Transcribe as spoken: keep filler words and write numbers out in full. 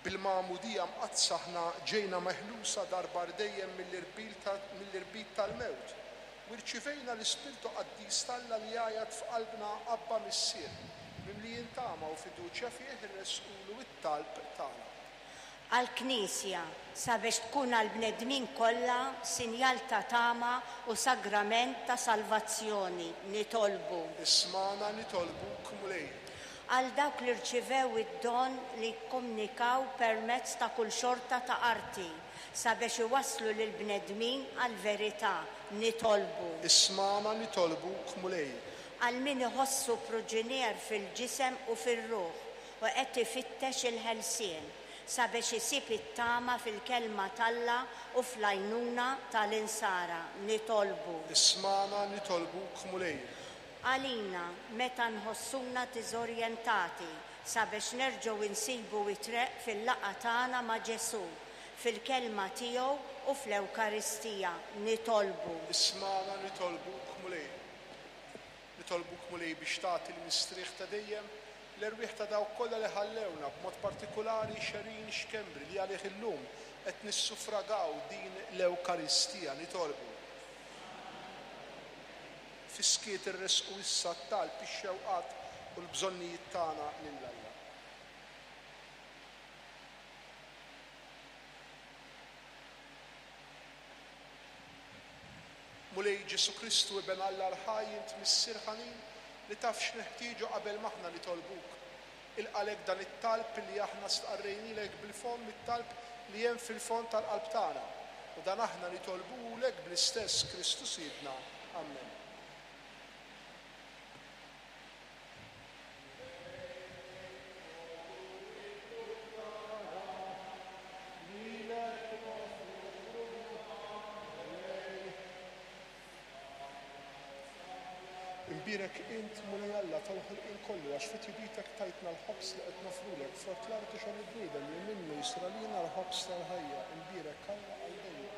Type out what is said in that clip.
Bil-Magħmudija Mqaddsa aħna ġejna meħlusa darba għal dejjem mill-irbit tal-mewt u rċivejna l-Ispirtu Qaddis t'Alla li jgħajjat f'qalbna Abba Missier, mimlijin tama u fiduċja fih irressqulu t-talb tagħna. Għall-Knisja, sabiex tkun għall-bnedmin kollha sinjal ta' tama u sagrament ta' salvazzjoni, nitolbu. Ismagħna nitolbuk, Mulej. Għal dawk li rċivew id-don li jikkomunikaw permezz ta' kull xorta ta' arti, sabiex iwasslu lill-bnedmin għall-verità, nitolbu. Ismagħna nitolbuk, Mulej. Għal min iħossu priġunier fil-ġisem u fir-ruħ u qed ifittex il-ħelsien, sabiex isib it-tama fil-kelma t'Alla u fl-għajnuna tal-insara, nitolbu. Ismagħna nitolbuk, Mulej. Għalina, meta nħossuna diżorjentati, sabiex nerġgħu nsibu it-triq fil-laqgħa tagħna ma' Ġesù, fil-kelma tiegħu u fl-Ewkaristija, nitolbu. Ismagħna nitolbuk, Mulej. Nitolbuk, Mulej, biex tagħti l-mistrieħ ta' dejjem l-erwieħ ta' dawk kollha li ħallewna, b'mod partikolari Xerin Xkembri li għalih illum qed nissuffragaw din l-Ewkaristija, nitolbu. Fis-skiet irressqu issa t-talb, ix-xewqat u l-bżonnijiet tagħna lil Alla. Mulej Ġesù Kristu, Iben Alla l-ħaj, int Missier ħanin li taf x'neħtieġu qabel m'aħna nitolbuk. Ilqalek dan it-talb li aħna stqarrejnilek bil-fomm, it-talb li hemm fil-fond tal-qalb tagħna. U dan aħna nitolbulek bl-istess Kristu Sidna. Amen. Imbierek int, Mulej Alla, tal-ħolqien kollu, għax fi tjubitek tajtna l-ħobż li qed nofrulek, frott l-art u xogħol il-bniedem li minnu jsir għalina l-ħobż tal-ħajja. Imbierek Alla għal dejjem.